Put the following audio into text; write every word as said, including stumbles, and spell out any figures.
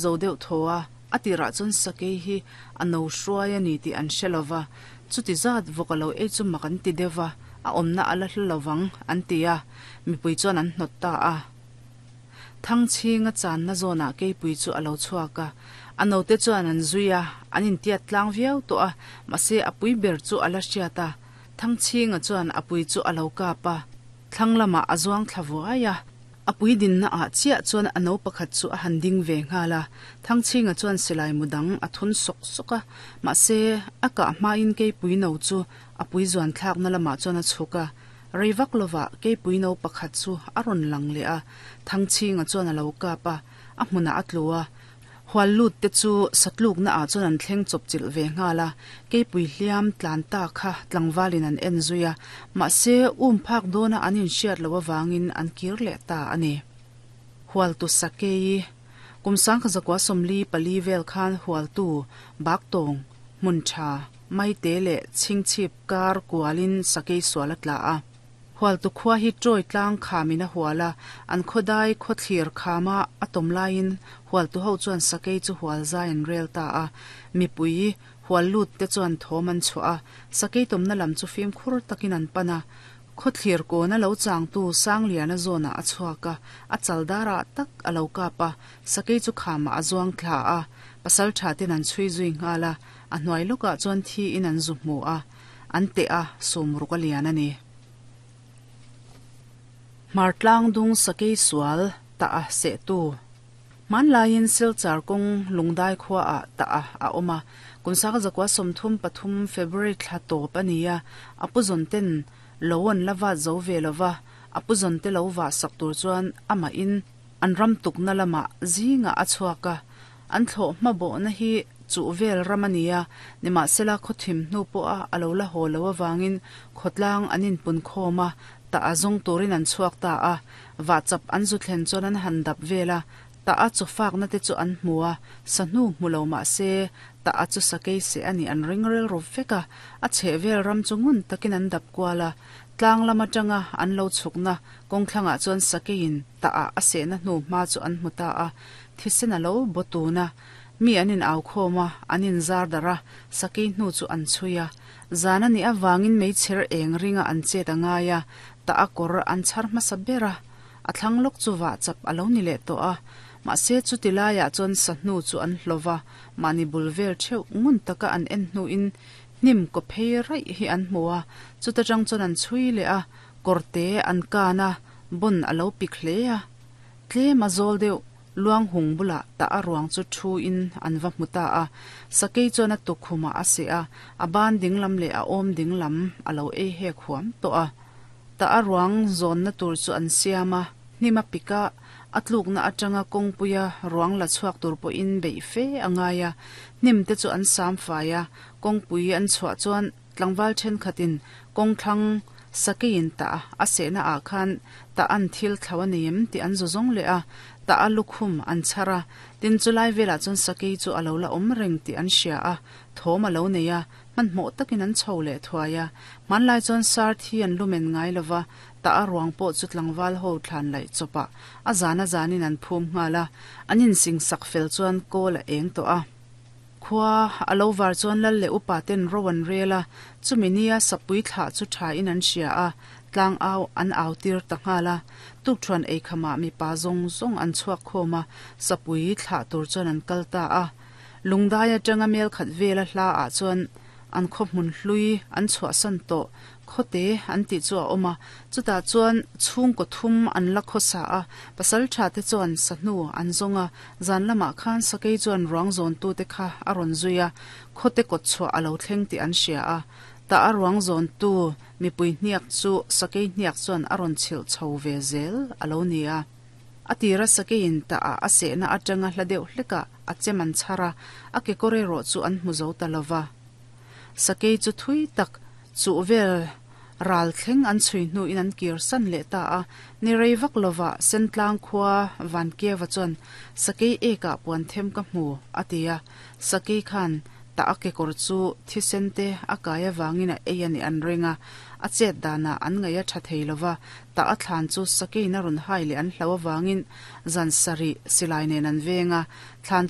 zo deuh thaw a, a tirah chuan sakei hi a no hruai a ni tih an hre lo va, chuti zat vawk a lo ei chu mak an ti deuh va, a awmna a la hlu lo vang an ti a, mipui chuan an hnawt ta a. Thangchhinga channa zawnah keipui chu a lo chhuak a, a note chuan an zui a, an intiat tlang viau tawh a, mahse a pui ber chu a la hriat a, Thangchhinga chuan a pui chu a lo kap a, thlang lamah a zuang thla vuai a, a pui dinna ah chiah chuan a no pakhat chu a han ding ve nghal a, Thangchhinga chuan silai mu dang a thun sawk sawk a, mahse a kah hmain keipui no chu a pui zuan thlakna lamah chuan a chhuk a, rei vak lovah keipui no pakhat chu a rawn lang leh a, Thangchhinga chuan a lo kap a, a hmunah a tlu a, hual lut te chu satlukna ah chuan an thleng chawp chilh ve nghal a, keipui hliam tlan ta kha tlangvalin an en zui a, mahse um phak dawna an inhriat loh avangin an kir leh ta a ni. Hualtu Sakei, Kum sangkha zakua sawmli pali vel khan hualtu Baktawng, hmun tha, Maite leh Chhingchhip kar kualin Sakei sual a tla a. Hualtu khua hi Troy tlang khamin a hual a, an khawdai khawthlir khama a tawm laiin Hualtu ho chuan Sakei chu hual zai an rel ta a. Mipui hual lut te chuan thawm an chhuah a, Sakei tawmna lam chu fimkhur takin an pan a. Khawthlir kawna lo changtu Sangliana zawnah a chhuak a, a chal darah tak a lo kap a, Sakei chu khamah a zuang thla a, pasal tha ten an chhui zui nghal a, a hnuai lawkah chuan thiin an zu hmu a, an teh a, sum ruk a lian a ni. Hmartlang dung Sakei sual tah a sehtu. Hmanlaiin Silchar kawng Lungdai khuaah tah a a awm a, kum sangha zakua sawmthum pathum February thla tawp a ni a, a pu zawn ten lo an la vat zo ve lo va, a pu zawn te lo vah sak tur chuan amahin an ram tukna lamah zingah a chhuak a, an thlawh hmabawhna hi chuh vel ram a ni a, nimahsela khawthim hnu pawha a lo la haw lo avangin khawtlang an inpun khawm a, tah a zawng turin an chhuak ta a, vahchap an zu thlen chuan an han dap vel a, tah a chaw fakna te chu an hmu a, sahnu hmu lo mah se tah a chu sakei seh a nih an ring rilru vek a, a chheh vel ram chu ngun takin an dap kual a, tlang lam atanga an lo chhukna kawngthlangah chuan sakeiin tah a a sehna hnu hma chu an hmu ta a, thisen a lo baw tun a, mi an in au khawm a, an in zar darh a, sakei hnu chu an chhui a. Zan a nih avangin meichher eng ringa an chet a ngai a, tah a kawr an chhar hmasa ber a, a thlang lawk chu vah chap a lo ni leh tawh a. Mahse chuti laiah chuan sahnu chu an hlawh va, mahni bul vel theuh ngun taka an en hnuin hnim kaw phei raih hi an hmu a, chuta tang chuan an chhui leh a, kawrte an kan a, bon a lo pik hle a. Tlem a zawl deuh Luang hung bulah tah a ruang chu thu in an va hmu ta a, sakei chuan a tukkhumah a seh a, a ban dinglam leh a awm dinglam a lo ei hek huam tawh a. Tah a ruang zawnna tur chu an siam a, hnim a pik a, a tlukna atanga kawngpuia ruang la chhuak tur pawhin beih fe a ngai a, hnim te chu an sam fai a, kawngpui an chhuah chuan tlangval thenkhatin kawngthlang sakeiin tah a sehna ah khan tah an thil thlo a nei em tih an zu zawng leh a, tah a lukhum an chhar a, tin chulai velah chuan sakei chu a lo la awm reng tih an hria a, thawm a lo nei a, hmanhmawh takin an chho leh thuai a. Hmanlai chuan sar thi an lumen ngai lo va, tah a ruang pawh chu tlangval ho thlan laih chawpah a zan a zanin an phum nghal a, an insing sak fel chuan kawl a eng tawh a. Khua a lo var chuan lal leh upa ten ro an rel a, chumi nia sapui thlah chu tha in an hria a, tlang au an au tir ta nghal a. Tukthuan eikhamah mipa zawng zawng an chhuak khawm a, sapui thlah tur chuan an kal ta a. Lungdai atanga mel khat vela hla ah chuan an khaw hmun hlui an chhuahsan tawh khawte an tih chu a awm a, chutah chuan chhungkaw thum an la khawsa a, pasal tha te chuan sahnu an zawng a, zan lamah khan sakei chuan ruang zawntute kha a rawn zui a, khawte kawt chhuah a lo thleng tih an hria a, tah a ruang zawntu mipui hniak chu sakei hniak chuan a rawn chhilh chho ve zel a lo ni a. A tira sakeiin tah a a sehna atanga hla deuh hlekah a chem an chhar a, a kekawr erawh chu an hmu zo ta lo va. Sakei chu thui tak chuh vel ral thleng an chhui hnuin an kir san leh ta a, ni rei vak lovah Sentlang khua Vankieva chuan Sakei ekah puan them ka hmu, a ti a. Sakei khan Ta a kekawr chu thisen te a kai avangin a ei a nih an ring a, a chet danah an ngaih a tha thei lova, ta a thlan chu sakeiin a rawn hai leh an hlau avangin zan sarih silai nen an veng a, thlan